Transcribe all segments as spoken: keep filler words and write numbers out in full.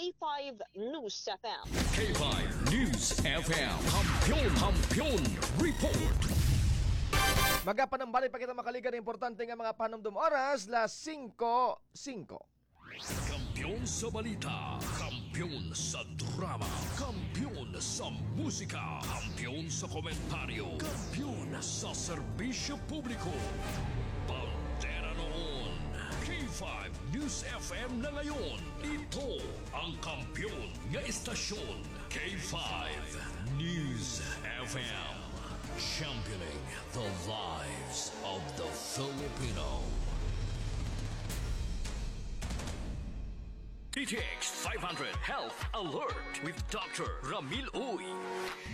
K five News F M. K five News F M. Kampiyon, Kampiyon Report. Magapanumbalik pa kita makalikan importante nga mga panumdom. Oras, las singko singko. Kampiyon sa balita, kampiyon sa drama, kampiyon sa musika, kampiyon sa komentaryo, kampiyon sa serbisyo publiko. Bandera noon, K five News F M na ngayon. Ito ang kampiyon nga istasyon, K five News F M. Championing the lives of the Filipino. D T X five hundred Health Alert with Doctor Ramil Uy.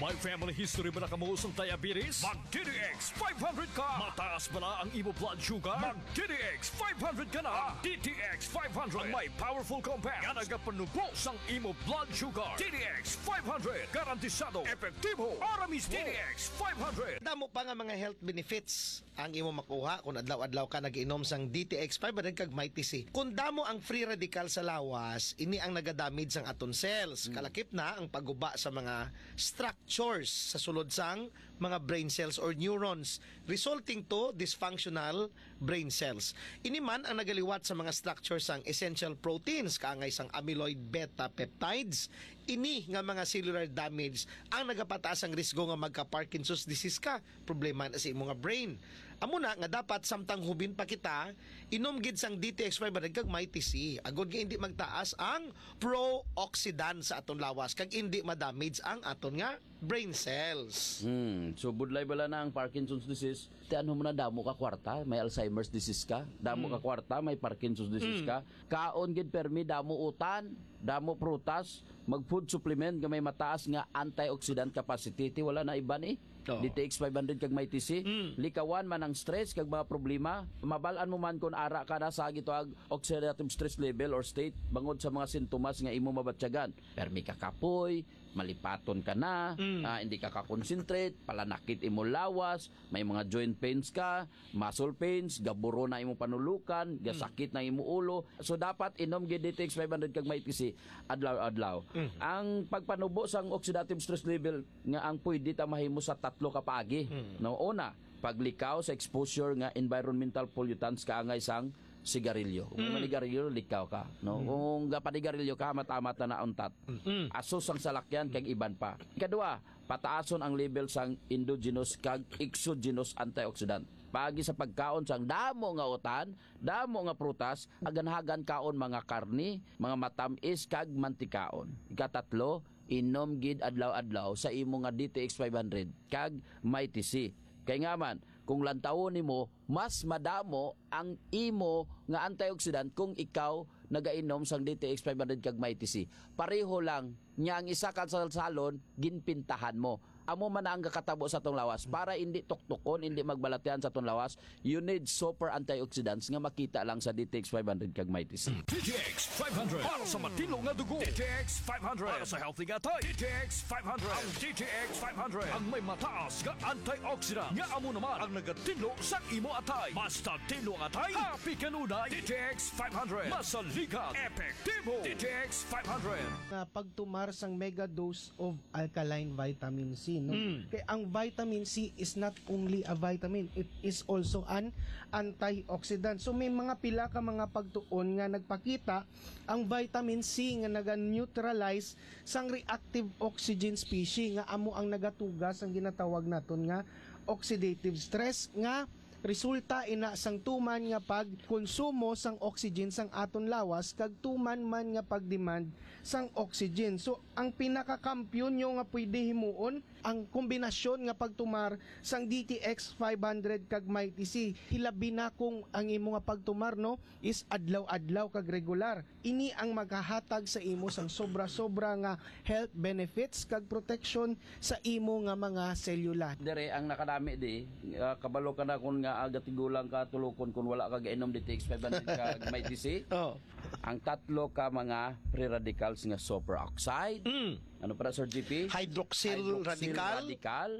May family history ba na kamo sang diabetes? Mag D T X five hundred ka. Mataas bala ang imo blood sugar? Mag D T X five hundred ka na. D T X five hundred ang may powerful compound nga nagapanubo sang imo blood sugar. D T X five hundred, garantisado, epektibo, ara mismo. D T X five hundred. Damo pa nga mga health benefits ang imo makuha kung adlaw-adlaw ka nag-inom sang D T X five hundred kag Mighty C. Kung damo ang free radical sa lawas, ini ang nagadamage sang aton cells. Mm. Kalakip na ang pagguba sa mga structures sa sulod sang mga brain cells or neurons, resulting to dysfunctional brain cells. Ini man ang nagaliwat sa mga structure sang essential proteins, kaangay sang amyloid beta peptides. Ini nga mga cellular damage ang nagapataas ang risgo nga magka-Parkinson's disease ka. Problema na sa imo nga brain. Amo na nga dapat samtang hubin pa kita, inom gid sang D T X five hundred kag Mighty C. Agod nga hindi magtaas ang pro-oxidant sa aton lawas kag hindi ma-damage ang aton nga brain cells. Hmm, so budlay bala na ang Parkinson's disease. Ti ano mo na, damo ka kwarta, may Alzheimer's disease ka, damo ka Hmm. kwarta, may Parkinson's disease Hmm. ka. Kaon gid permi, damo utan, damo prutas, mag food supplement nga may mataas nga antioxidant capacity. Ti wala na iban eh. Oo. D T X five hundred kag Mighty C. Mm. Likawan man ang stress kag mga problema. Mabal-an mo man kung ara ka na sa gitawag oxidative stress level or state bangod sa mga sintomas nga imo mabatyagan. Permi ka kapoy, malipaton ka na, Mm. ah, hindi ka ka-concentrate, palanakit imo lawas, may mga joint pains ka, muscle pains, gaburo na imo panulukan, Mm. gasakit na imo ulo. So dapat inom gid D T X five hundred kag Mighty C adlaw-adlaw. Mm. Ang pagpanubo sang oxidative stress level nga ang pwede ta mahimo sa tatlo ka paagi. Mm. No, una, paglikaw sa exposure nga environmental pollutants kaangay sang sigarilyo. Kung Mm. manigarilyo, likaw ka, no? Mm. Kung gapanigarilyo ka, hamat-hamat na nauntat. Mm. Aso sang salakyan kag iban pa. Ikadua, pataason ang level sang endogenous kag exogenous antioxidant. Paagi sa pagkaon sang damo nga utan, damo nga prutas, aganhagan kaon mga karni, mga matamis kag mantikaon. Ikatatlo, inom gid adlaw-adlaw sa imo nga D T X five hundred kag Mighty C. Kay nga man, kung lantawon nimo, mas madamo ang imo nga antioxidant kung ikaw nagainom sang D T X five hundred kag Mighty C. Pareho lang nga ang isa ka salsalon, ginpintahan mo. Amo man na ang gakatabo sa atong lawas. Para hindi tuktukon, hindi magbalatian sa atong lawas, you need super antioxidants nga makita lang sa D T X five hundred kag Mighty C. D T X five hundred para sa matinlo nga dugo. D T X five hundred para sa healthy nga atay. D T X five hundred. Ang D T X five hundred ang may mataas nga antioxidant nga amo naman ang nagatinlo sa imo atay. Basta tinlo ang atay, happy kanunay. D T X five hundred. Masaligan, epektibo. D T X five hundred. Nga pagtumar sang mega dose of alkaline vitamin C, no? Mm. Kay ang vitamin C is not only a vitamin, it is also an antioxidant. So may mga pila ka mga pagtuon nga nagpakita ang vitamin C nga naga-neutralize sang reactive oxygen species nga amo ang nagatuga sang ginatawag naton nga oxidative stress nga resulta ina sang tuman nga pagkonsumo sang oxygen sang aton lawas kag tuman man nga pagdemand sang oxygen. So, ang pinakakampiyon nyo nga pwede himuon, ang kombinasyon nga pagtumar sang D T X five hundred kag Mighty C. Hilabi na kung ang imo nga pagtumar, no, is adlaw-adlaw kag regular. Ini ang maghahatag sa imo sang sobra-sobra nga health benefits kag proteksyon sa imo nga mga selula. Dire ang nakadami di, ah, kabalo ka na kun nga, ah, gatigulang ka tulukon kun wala ka gainom D T X five hundred ka Mighty C. Oh. Ang tatlo ka mga free radicals nga superoxide. Mm. Ano para, Sir G P? Hydroxyl Hydroxyl radical. Radical.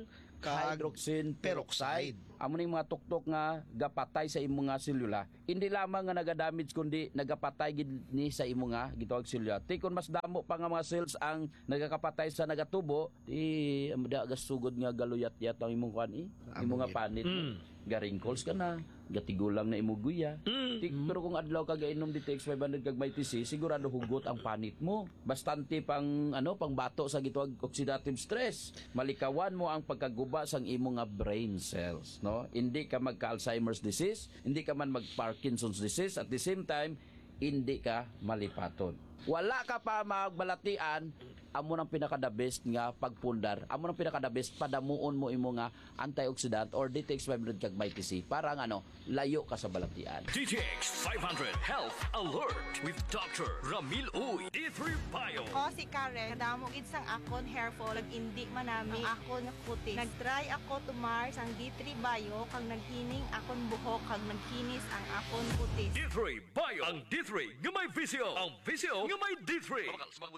kag hydroxin peroxide. Amo ning mga tuktok nga gapatay sa imo nga selula. Hindi lamang nga nagadamage, kundi nagapatay gid ni sa imo nga gitawag selula. Ti kon mas damo pa nga mga cells ang nagakapatay sa nagatubo, di da gasugod nga galuyat-yat ang imong kuan, eh, imo nga panit. Mm. Ga-wrinkles ka na, gatigulang na imo guya. Mm. Ti-, pero kung adlaw ka gainom D T X five hundred kag Mighty C, sigurado hugot ang panit mo. Bastante pang, ano, pang bato sa gitawag oxidative stress. Malikawan mo ang pagkaguba sang imo nga brain cells, no? Hindi ka magka-Alzheimer's disease, hindi ka man mag-Parkinson's disease, at the same time, hindi ka malipaton. Wala ka pa magbalatian, amo nang pinaka-the best nga pagpundar, amo nang pinaka-the best, padamuon mo imo nga antioxidant or D T X five hundred kag Mighty C para nga, ano, layo ka sa balatian. D T X five hundred Health Alert with Doctor Ramil Uy, D three Bio. Ako si Karen. Kadamo gid sang akon hair fall, nag-indi man nami ang akon kutis. Nag-try ako tumar sang D three Bio, kag naghining akon buhok, kag nagkinis ang akon kutis. D three Bio, ang D three nga may visyo, ang visyo nga may D three.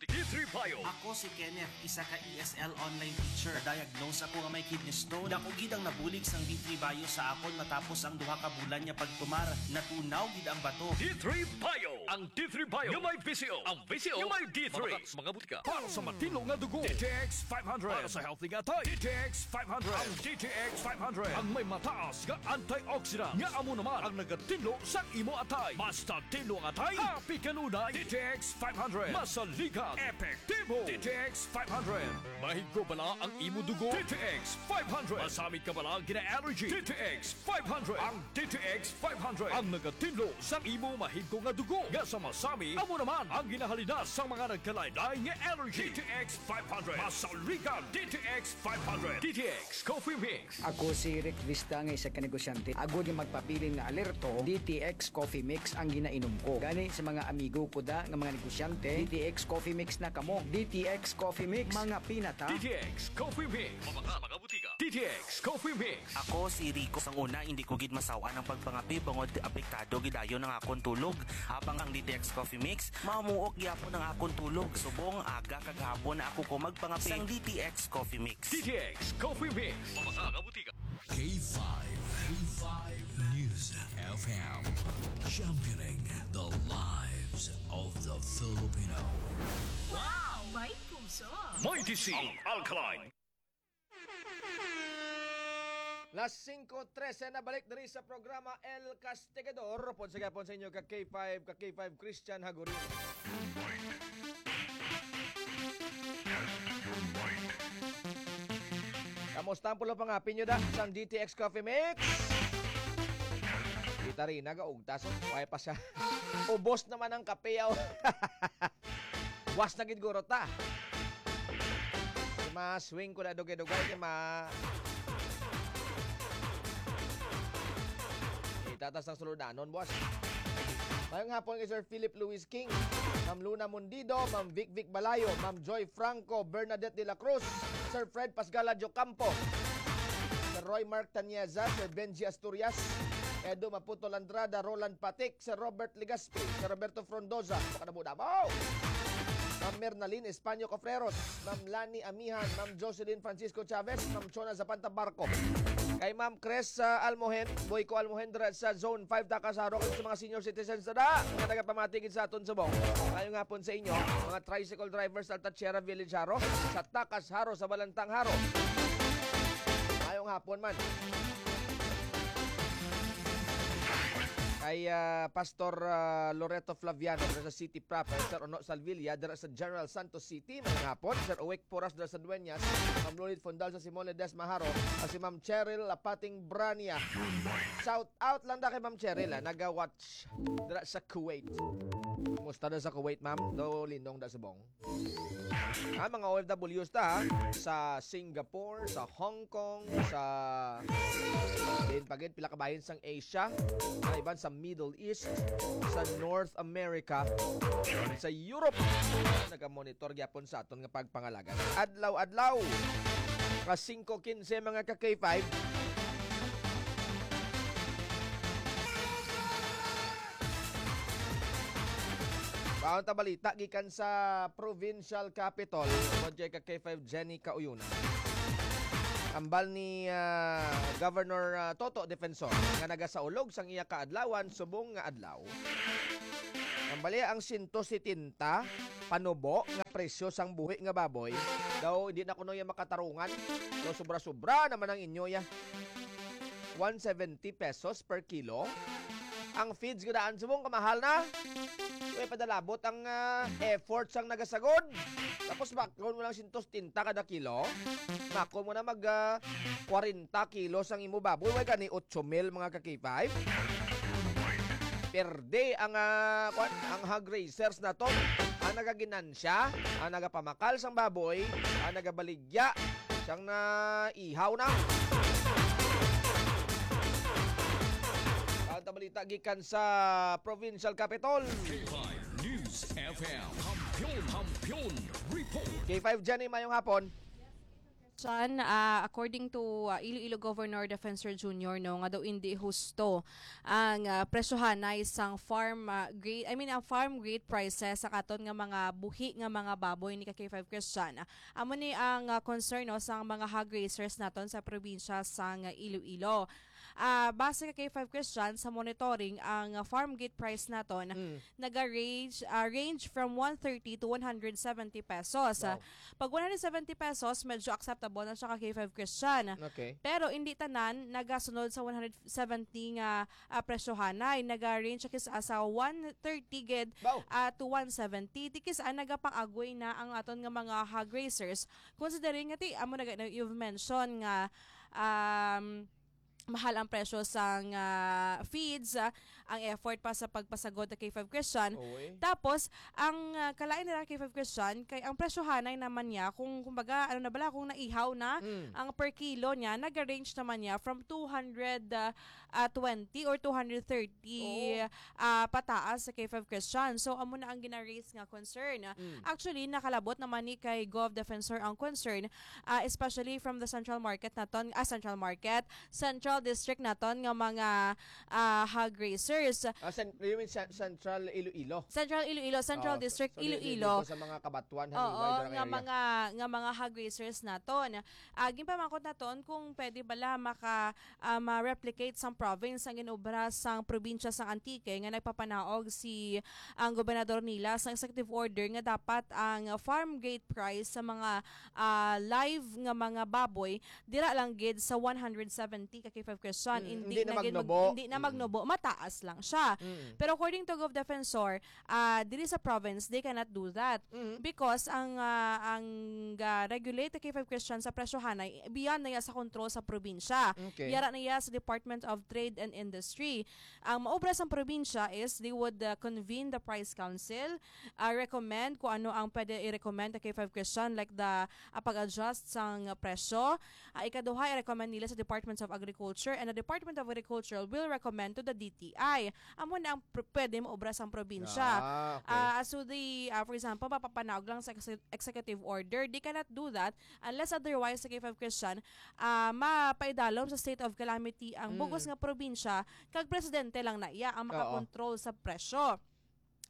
D three Bio. Ako si Kenneth, isa ka E S L online teacher. Na-diagnose ako nga may kidney stone. Dako gid ang nabulig sang D three Bio sa akon matapos ang duha ka bulan nga pagtumar. Natunaw gid ang bato. D three Bio. Ang D three Bio nga may visyo. Ang visyo nga may D three. Mabakal sa mga butika. Para sa matinlo nga dugo, D T X five hundred. Para sa healthy nga atay, D T X five hundred. Ang D T X five hundred ang may mataas nga antioxidant, nga amo naman ang nagatinlo sa imo atay. Basta tinlo ang atay, happy kanunay. D T X five hundred. Masaligan, epektibo. D T X five hundred. Mahigo bala ang imo dugo? D T X five hundred. Masamit ka bala gina-allergy? D T X five hundred. Ang D T X five hundred ang nagatinlo sa imo mahigo nga dugo nga sa masami, amo naman ang ginahalinas sa mga nagkalain-lain nga allergy. D T X five hundred. Masaligan, D T X five hundred. D T X Coffee Mix. Ako si Rick Vista nga isa ka negosyante. Agod nga magpabilin nga alerto, D T X Coffee Mix ang ginainom ko. Gani sa mga amigo ko da nga mga negosyante, D T X Coffee Mix na kamo. D T X Coffee Mix, mga pinata. D T X Coffee Mix. Mabakal sa mga butika. D T X Coffee Mix. Ako si Rico. Sang una, hindi ko gid masaw-an ang pagpangape bangod apektado gid dayon ang akon tulog. Habang ang D T X Coffee Mix, mamuok gyapon ang akon tulog. Subong aga kag hapon na ako ko magpangape. Sang D T X Coffee Mix. D T X Coffee Mix. Mabakal sa mga butika. K five, K five News F M, championing the lives of the Filipino. Wow! May puso! Mighty C, ang alkaline. Las singko trese na, balik diri sa programa El Castigador. Upod sa gihapon sa inyo ka K five, ka K five Christian Hagurin. Kamusta ang pulo pangapin nyo da sang D T X Coffee Mix? Kita rin, nagaugtas. Oh. Why pa siya? Ubos naman ang kape, oh. Was na gid guro ta. Di ma-swing ko na dugay-dugay, di ma-, itatas ng suludanon, boss. Mayong hapon kay Sir Philip Luis King, Ma'am Luna Mundido, Ma'am Vic Vic Balayo, Ma'am Joy Franco, Bernadette de la Cruz, Sir Fred Pasgala Jocampo, Sir Roy Mark Tanieza, Sir Benji Asturias, Edo Maputol Andrada, Roland Patik, Sir Robert Legaspi, Sir Roberto Frondoza, makadamo-damo. Ma'am Mernaline Españo Cofreros, Ma'am Lani Amihan, Ma'am Jocelyn Francisco Chavez, Ma'am Chona Zapanta Barco. Kay Ma'am Chris, ah, Almohen, Boyco Almohen, dira sa Zone five, Takas Jaro, kag sa mga senior citizens na da, nga nagapamati gid sa aton subong. Mayong hapon sa inyo, mga tricycle drivers sa Alta Sierra Village Jaro, sa Takas Jaro, sa Balantang Jaro. Mayong hapon man. Kay, ah, Pastor, ah, Loreto Flaviano, dira sa City Proper, Sir Ono Salvilla, dira sa General Santos City, mayong hapon. Sir Uwek Poras, dira sa Dueñas, Ma'am Lolith Fondal sa Simon Ledesma Jaro, at si Ma'am Cheryl Lapating Brania. Shout out lang da kay Ma'am Cheryl, ah, naga-watch dira sa Kuwait. Kumusta na sa Kuwait, ma'am? Do lindong da subong. Ah, mga O F Ws ta, ha? Sa Singapore, sa Hong Kong, sa, din pa gid, pila ka bahin sang Asia, sa iban sa Middle East, sa North America, sa Europe. Nagamonitor gyapon sa aton nga pagpangalagan. Adlaw-adlaw, nga singko kinse, mga ka K five. Baon ta balita gikan sa provincial capital, tungod kay ka K five Jenny Kauyunan. Ambal ni, ah, Governor, ah, Toto Defensor nga nagasaulog sang iya kaadlawan subong nga adlaw. Ambali ang sento setenta panubo nga presyo sang buhi nga baboy. Daw hindi na kuno iya makatarungan. So, sobra-sobra naman ang inyo ya. One seventy pesos per kilo. Ang feeds nga daan subong kamahal na. Way padalabot ang, ah, effort sang nagasagod. Tapos makon mo lang sento setenta kada kilo. Makon mo na mag, ah, kwarenta kilos ang imo baboy. Way gani otso mil, mga ka-K five. Perde ang, ah, kwan, ang hog raisers naton. Ang nagaginansya, ang nagapamakal sang baboy, ang nagabaligya sang naihaw na. Ang tabalita gikan sa Provincial Capitol. K five News F M. Kampiyon, Kampiyon Report. K five Jenny, mayong hapon. Chan, ah, according to, ah, Iloilo Governor Defensor Junior, no, nga daw hindi husto ang, ah, presyohanay sang farm, ah, gate, I mean, ang farm gate prices sa katon nga mga buhi nga mga baboy ni ka K five Christian. Amo ni ang, ah, concern, no, sang mga hog raisers naton sa probinsya sang Iloilo. Ah, base ka K five Christian, sa monitoring, ang, ah, farm gate price naton Mm. naga-range, ah, range from one thirty to one hundred seventy pesos. Wow. Pag one hundred seventy pesos, medyo acceptable na siya ka K five Christian. Okay. Pero hindi tanan nagasunod sa one hundred seventy nga, ah, presyohanay. Naga-range siya kis-, ah, sa one thirty gid, Wow. ah, to one seventy. Di kis-, ah, nagapang-agoy na ang aton nga mga hog raisers. Considering nga ti, amo na ga-, na you've mentioned nga, um, mahal ang presyo sang, ah, feeds, ah, ang effort pa sa pagpasagod sa K five Christian. Oy. Tapos, ang, ah, kalain nila K five Christian, kay ang presyohanay naman niya, kung, kumbaga, ano na bala, kung naihaw na Mm. ang per kilo niya, naga-range naman niya from two hundred, ah, ah, twenty or two hundred thirty, Oo. ah, pataas sa K five Christian. So, amo na ang gina-raise nga concern. Mm. Actually, nakalabot naman ni kay Gov Defensor ang concern, ah, especially from the central market naton, ah, central market, central district naton nga mga, ah, hog raisers. Ah, cen-, you mean cen-, Central Iloilo? Central Iloilo, Central Oh, District so, di, di, Iloilo. Dito sa mga Kabatuan, Oo, Halimbayan nga area. mga, nga mga hog raisers naton. Ah, ginpamangkot naton kung pwede bala maka, ah, ma-replicate sang province ang ginobra sang probinsya sang Antique nga nagpapanaog si ang gobernador nila sa executive order nga dapat ang farm gate price sa mga, ah, live nga mga baboy dira lang gid sa one hundred seventy ka K five Christian. Mm, Hindi hindi na na gid mag-, magnubo. hindi na Mm. magnubo, mataas lang siya. Mm. Pero according to Gov Defensor, ah, diri sa province, they cannot do that. Mm. Because ang, ah, ang, ah, regulate ka K five Christian sa presyohanay, beyond na iya sa kontrol sa probinsya. Okay. Yara na iya sa Department of Trade and Industry. Ang maobra sang probinsya is they would, ah, convene the price council, ah, recommend kung ano ang pwede i-recommend sa K five Christian, like the, ah, pag-adjust sang presyo. Ah, ikaduha, i-recommend nila sa Departments of Agriculture, and the Department of Agriculture will recommend to the D T I. Amo na ang pr-, pwede maobra sang probinsya. Ah, okay. Ah, so the, ah, for example, mapapanaog lang sa exe-, executive order. They cannot do that unless otherwise sa K five Christian, ah, mapaidalom sa state of calamity ang Mm. bugos nga probinsya, kag presidente lang na iya ang Oo. makakontrol sa presyo.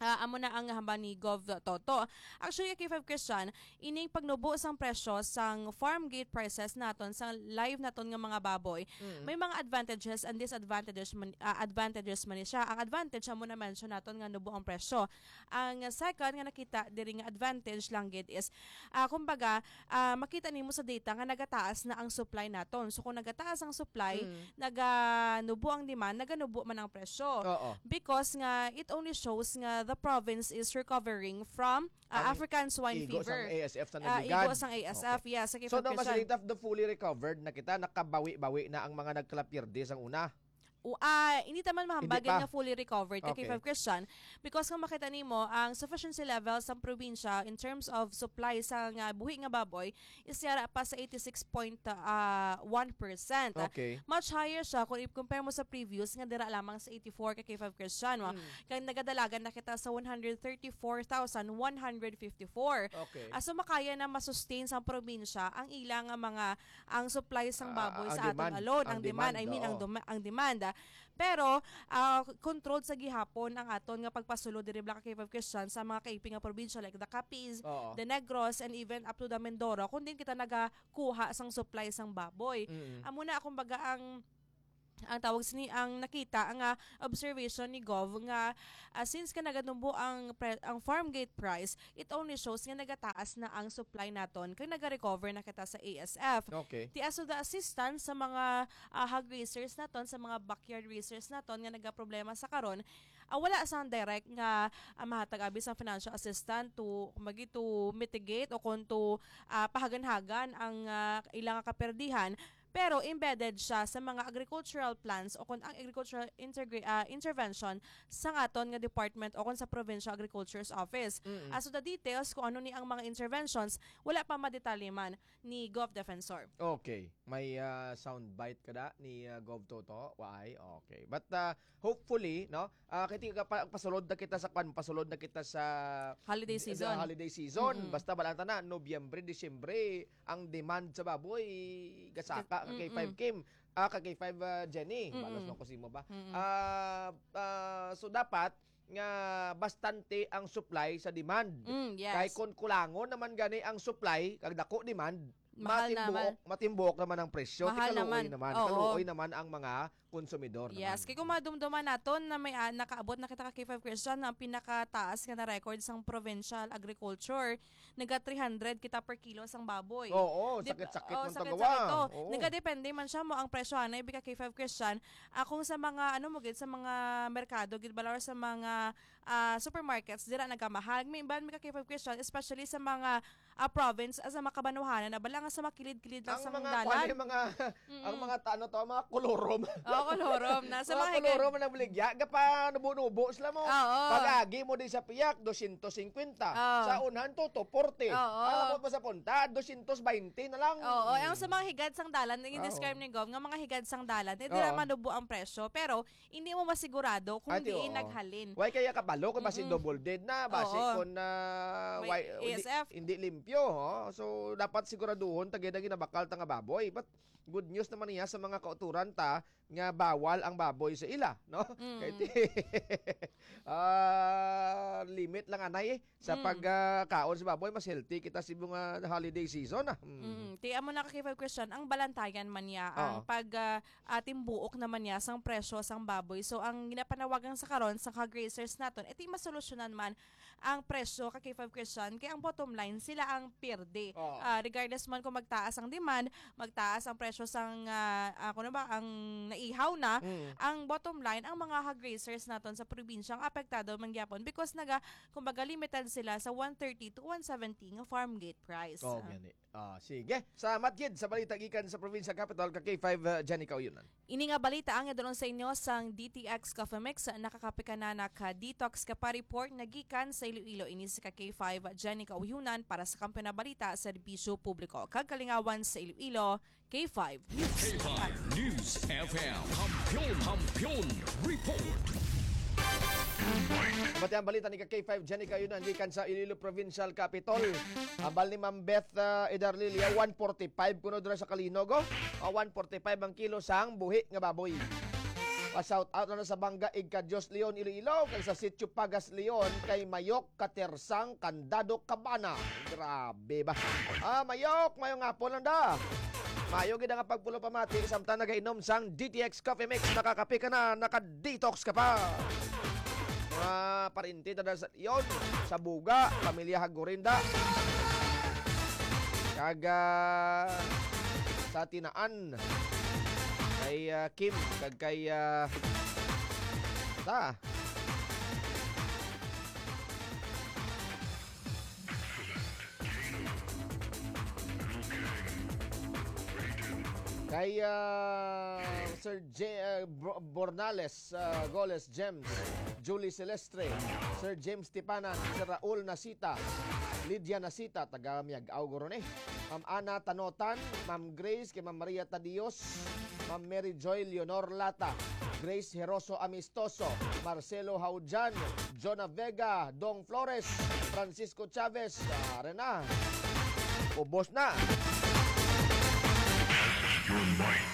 Ah, amo na ang hambal ni Gov Toto. Actually, K five Christian, ining pagnubo sang presyo sang farm gate prices naton, sa live naton nga mga baboy, Mm. may mga advantages and disadvantages man, ah, advantages man ni siya. Ang advantage, amo na mention naton nga nubo ang presyo. Ang second nga nakita diri nga advantage lang gid is, ah, kumbaga, ah, makita nimo sa data nga nagataas na ang supply naton. So, kung nagataas ang supply, Mm. naganubo ang demand, naganubo man ang presyo. Oo. Because nga, it only shows nga the province is recovering from, ah, Ang African swine igo sang fever. A S F sa Ah, nagligad. Igo sang A S F, Okay. yes, sa So, no, K five Christian. Masalita, the fully recovered na kita, nakabawi-bawi na ang mga nagkalapirde sang una. O, ah, hindi ta man mahambal Hindi gid pa. nga fully recovered ka Okay. K five Christian, because kung makita nimo, ang sufficiency level sa probinsya in terms of supply sa nga buhi nga baboy is yara pa sa eighty-six point one percent. Okay. Much higher siya kung i-compare mo sa previous nga dira lamang sa eighty-four ka K five Christian, no? Mm. Kay nagadalagan na kita sa one hundred thirty-four thousand one hundred fifty-four. Okay. Ah, so makaya na ma-sustain sa probinsya ang ila nga mga, ang supply sang Ah, baboy ang sa aton demand. alone, Ang ang demand, demand, I mean, ang oo. duma-, ang demand, ah. Pero, ah, controlled sa gihapon ang aton nga pagpasulod diri, Black K five Christian, sa mga kaiping nga probinsya like the Capiz, Oo. the Negros, and even up to the Mindoro, kung din kita nagakuha sang supply sang baboy. Mm. Amo na, kumbaga, ang ang tawag sini, ang nakita nga observation ni Gov nga, ah, since ka nagatumbo ang pre-, ang farm gate price, it only shows nga nagataas na ang supply naton kag nagarecover na kita sa A S F. Okay. Ti as to the assistance sa mga, ah, hog raisers naton, sa mga backyard raisers naton nga nagaproblema sa karon, ah, wala sang direct nga, ah, mahatag abi sang financial assistance to, kumbaga, to mitigate o kon to, ah, pahaganhagan ang, ah, ila nga kaperdihan. Pero embedded siya sa mga agricultural plans o kon ang agricultural integra-, ah, intervention sa aton nga department o kon sa Provincial Agriculture's Office. Mm. As to the details kung ano ni ang mga interventions, wala pa madetalye man ni Gov Defensor. Okay. May, ah, soundbite ka da ni, ah, Gov Toto? Waay? Okay. But, ah, hopefully, no? Ah, kay ti-, pa-, pasulod na kita sa kwan, pasulod na kita sa Holiday sa season. holiday season. Mm-mm. Basta balanta na, Nobyembre, Disyembre, ang demand sa baboy, gasaka, Gas-, ka K five mm-mm. Kim, ah, ka K five, ah, Jenny. Mm-mm. Balos mo ko simo ba? Mm-mm. Ah, ah, so dapat nga bastante ang supply sa demand. Mm, yes. Kay kung kulangon naman gani ang supply, kag dako demand, Mahal matimbuok, naman. matimbuok naman ang presyo. Mahal Ti kaluoy naman. naman. Oo. Kaluoy naman ang mga konsumidor Yes, naman. kay kung madumduman naton na may, ah, nakaabot na kita ka K five Christian na ang pinakataas nga na record sang provincial agriculture, naga three hundred kita per kilo sang baboy. Oo, Di ba? sakit-sakit Oh, man sakit-sakit tagawa. to. Oo. Nagadepende man siya mo ang presyo anay bika K five Christian. Akong sa mga, ano mo gid, sa mga merkado gid bala or sa mga, ah, supermarkets, dira nagamahal. May iban, may ka K five Christian, especially sa mga, ah, province, ah, sa mga kabanwahanan na bala nga sa makilid-kilid lang Ang sa mga, dalan. kuwan, yung mga, ang Mm. mga ta-, ano to, mga kolorom. Oo, kolorom. Nasa Mga mga higan- kolorom na nagbaligya, gapa nubo-nubo sila mo. Oo. Pag-agi mo di sa piyak, dosyentos singkwenta. Oo. Sa unahan to, two forty. Oo. Alam mo pa sa punta, dosyentos baynte na lang. Oo, ang sa mga higad sang dalan, yung Oo. describe ni Gov, nga mga higad sang dalan, eh, dira Oo. manubo ang presyo. Pero, hindi mo masigurado kung Ati, diin oo. naghalin. Why kaya kabalo kung basi Mm-mm. double dead na, basi Oo. kung, ah, May why, hindi, A S F. hindi limpyo, ho? So, dapat siguraduhon, tagay na ginabakal ta nga baboy. But, good news naman niya sa mga kauturan ta nga bawal ang baboy sa ila, no? Mm. Kay ti-, ah, limit lang anay, eh, sa Mm. pag, ah, kaon sa baboy, mas healthy kita sa mga holiday season, ah. Mm. Mm. Ti amo na ka K five Christian, ang balantayan man niya, ang Oo. pag, ah, ah, timbuok naman niya sang presyo sang baboy. So, ang ginapanawagan sa karon sa ka-grazers naton, iti masolusyonan man ang presyo ka K five Christian, kay ang bottom line, sila ang pierde. Oo. Ah, regardless man kung magtaas ang demand, magtaas ang presyo sang, ah, ah, kuno ba, ang naihaw na, Mm. ang bottom line, ang mga hog raisers naton sa probinsya ang apektado man gyapon because naga-, kumbaga, limited sila sa one thirty to one seventy nga farm gate price. Oo, Ah. gani. Ah, sige. Salamat gid sa balita gikan sa provincial capital ka K five, uh, Jenny Kauyonan. Ini nga balita ang idulong sa inyo sang D T X Coffee Mix. Nakakape ka na, naka-detox ka pa. Report na gikan sa Iloilo. Ini si ka K five, Jenny Kauyonan para sa Kampiyon na Balita, Serbisyo Publiko kag Kalingawan sa Iloilo, K five News. K five News F M. Kampiyon, Kampiyon Report. Bati ang balita ni ka K five Jenny Kauyonan gikan sa Iloilo Provincial Capitol. Abal ni Ma'am Beth, ah, Edarlilia, one forty-five kuno dira sa Kalinog, oh. Ah, one forty-five ang kilo sang buhi nga baboy. Pa-shout out na sa Bangga, Igka Dios Leon, Iloilo, kag sa Sitio Pagas Leon, kay Mayok Katersang Candado Cabana. Grabe ba? Ah, Mayok, maayong hapon lang da. Mayo gid nga pagpulo pamati, samtang nagainom sang D T X Coffee Mix, nakakape ka na, naka-detox ka pa. Mga parinti ta sa Leon, sa Buga, pamilya Hagorinda. Kag, ah, sa Tinaan, kay, ah, Kim, kag kay, ah, ta. Kay, ah, Sir J-, ah, Bro-, Bornales, ah, Goles James, Julie Celestre, Sir James Tipanan, Sir Raul Nasita, Lydia Nasita, taga Miag-ao guro ni. Ma'am Ana Tanotan, Ma'am Grace, kay Ma'am Maria Tadios, Ma'am Mary Joy Leonor Lata, Grace Heroso Amistoso, Marcelo Haujan, Jonah Vega, Dong Flores, Francisco Chavez, ah, Rena. Ubos na. Your mic